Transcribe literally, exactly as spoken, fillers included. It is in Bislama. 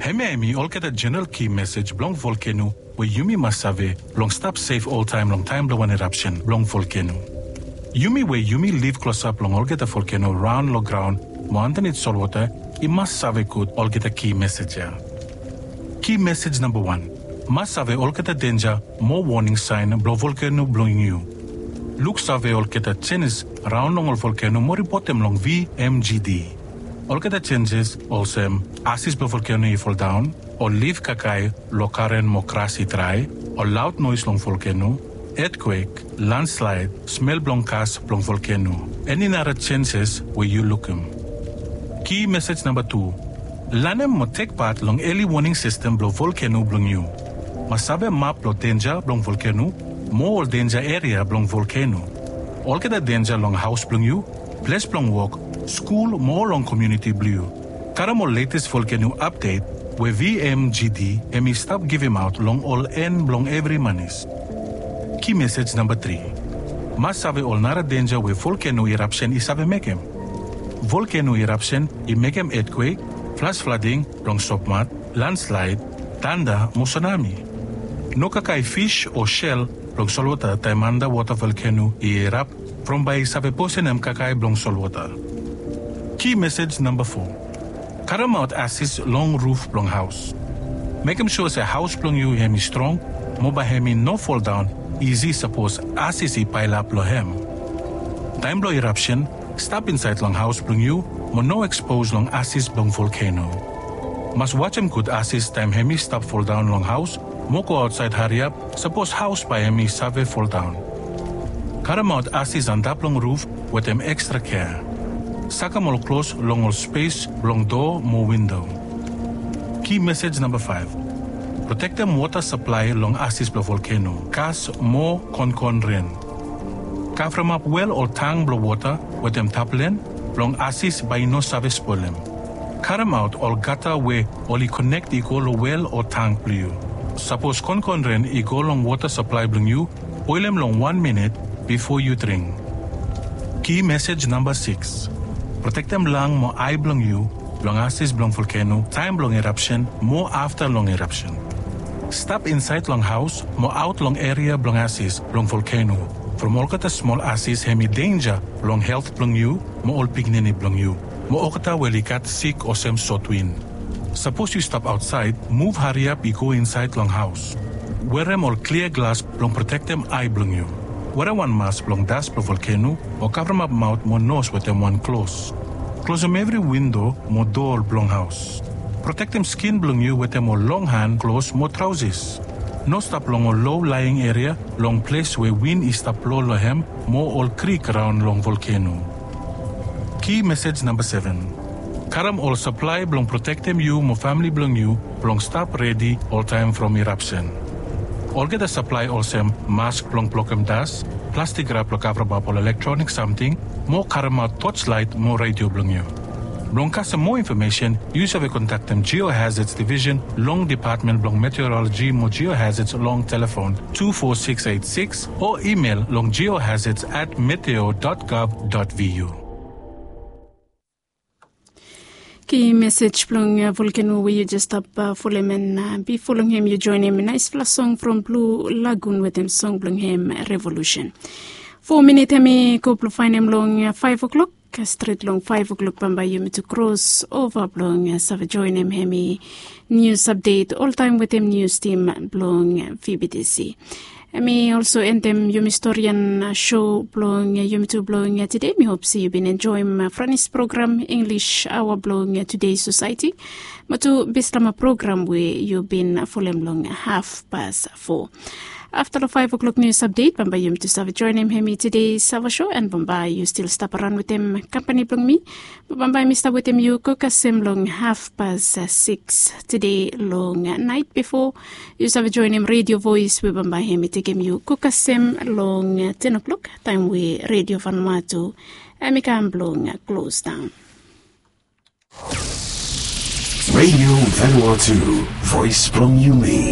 Hemia hemi olgeta jeneral ki mesej blong volkeno we yumi mas save blong stap sef oltaem long taem blong wan erapsen blong volkeno. Yumi we yumi liv klosap long olgeta volkeno raon long graon mo andanit solwota i mas save gud olgeta ki mesej ya. Ki mesej namba wan, mas save olgeta denja mo woning saen blong volkeno blong yu. Luksave olgeta jenis raon long ol volkeno mo ripotem long V M G D. Olgeta jenis olsem asis blong volkeno i foldaon, ol lif kakae long garen mo gras i drae, ol laod noes long volkeno, etkwek, landslaed, smel blong gas blong volkeno, eni nara jenis we yu lukim. Ki mesej namba tu, lanem mo tek pat long eli woning sistem blong volkeno blong yu. Mas save map blong denja blong volkeno mo ol denja eria blong volkeno. Olgeta denja long haos blong yu, ples blong wok, skul mo long komuniti blong yu. Karem ol letes volkeno apdet we V M G D hemi stap givimaot long ol en blong evri manis. Ki mesej namba tri, mas save ol nara denja we volkeno irapsen i save mekem. Volkeno irapsen i mekem etkwek, flas flading blong sopmat, landslaed, tanda mo sunami. No kakae fis o sel blong solwota taem andawota volkeno i irap from bae i save posenem kakae blong solwota. Ki mesej namba fo, karemaot asis long ruf blong haos. Mekem sua se haos blong yu hemi strong mo bae hemi no foldaon isi sapos asis i paelap long hem. Taem blong irapsen, stap insaed long haos blong yu mo no ekspos long asis blong volkeno. Mas wajem gud asis taem hemi stap foldaon long haos mo go aotsaed hariap sapos haos bae hemi save foldaon. Karemaot asis antap long ruf wetem ekstra kea. Sakem ol klos long ol spes blong doa mo windo. Ki mesej namba faef, protektem wota saplae long asis blong volkeno, gas mo konkon ren. Kavremap wel o tang blong wota wetem taplen blong asis bae i no save spolem. Karemaot ol gata we oli konek i go long wel o tang blong yu. Sapos konkon ren i go long wota saplae blong yu, boelem long wan minit bifo yu dring. Ki mesej namba sikis, protektem lang mo ae blong yu blong asis blong volkeno taem blong irapsen mo afta long irapsen. Stap insaed long haos mo aot long eria blong asis blong volkeno, from olgeta smol asis hemi denja long helt blong yu mo ol pikinini blong yu mo olgeta we oli gat sik olsem sotwin. Sapos yu stap aotsaed, muv hariap i go insaed long haos. Werem ol klia glas blong protektem ae blong yu. Werem wan mas blong das blong volkeno o kavremap maot mo nos wetem wan klos. Klosem evri windo mo doa blong haos. Protektem skin blong yu wetem ol long han klos mo traosis. No stap long ol low laing eria long ples we win i stap blong long hem mo ol krik raon long volkeno. Ki mesej namba seven, karem ol saplae blong protektem yu mo famle blong yu blong stap redi oltaem from irapsen. Olgeta saplae olsem mask blong blokem das, plastik rap blong kavremap ol elektronik samting, mo karemaot toslaet mo redio blong yu. Blong kasem moa infomesen, yu save kontaktem Geohazards Division long Depatmen blong Meteoroloji mo Geohazards long telefon tu fo sikis eit sikis o imel long geohazards at meteo dot gov dot V U. Ki mesej blong volkeno we yu jes stap folem, en bifo long hem yu joenem naesfala song from Blue Lagoon wetem song blong hem Revolution. Fo minit hemi go blong faenem long faef oklok. Stret long faef oklok bambae yumi tu kros ova blong save joenem hemi nius apdet oltaem wetem nius tim blong V B T C. Hemi olso endem yumi storian sho blong yumi tu blong tede. Mi hop se yu bin enjoem Franis program, Inglis aoa blong Tudei Sosaeti, mo tu Bislama program we yu bin folem long hafpas fo. Afta long faef oklok nius apdet bambae yumi tu save joenem hemi Tudei Sava Sho, en bambae yu stil stap araon wetem kampani blong mi. Bambae mi stap wetem yu go kasem long hafpas sikis tede long naet bifo yu save joenem Redio Voes we bambae hemi tekem yu go kasem long ten oklok, taem we Redio Vanuatu hemi kam blong klosdaon. Redio Vanuatu, voes blong yumi.